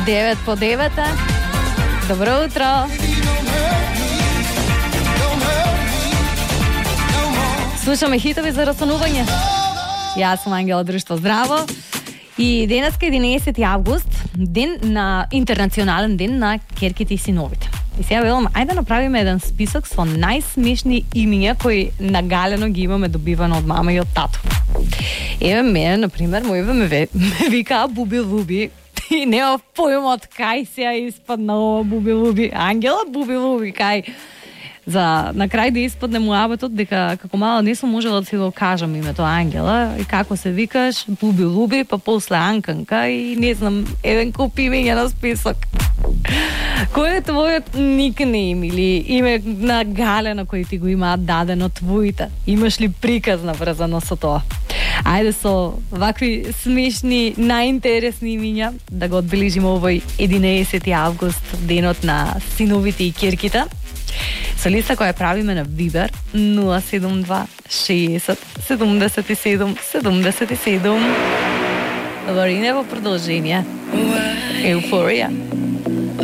9 по 9. Добро утро. Слушаме хитови за растанување. Јас сум Ангела Друштво, здраво. И денеска 11 август, ден на интернационален ден на керките и синовите. И сега велам, ајде да направиме еден список со најсмешни имиња кои нагалено ги имаме добивано од мама и од тато. Еве мене, например, мојове ме викаа Буби Луби. И нема појум од кај сега испадна ова Буби Луби. Ангела Буби Луби, кај. За на крај да испадне муабетот дека како мала не сум можела да си го кажам името Ангела и како се викаш Буби Луби, па после Анканка и не знам, еден куп имења на список. Кој е твојот никнейм или име на галена кој ти го имаат дадено твоите? Имаш ли приказ наврзано со тоа? Ајде со вакви смешни, најинтересни имиња да го одбележиме овој 11 август, денот на синовите и керките. Со листа која правиме на Viber 072 60 77 77. Лорина во продолжение. Еуфорија.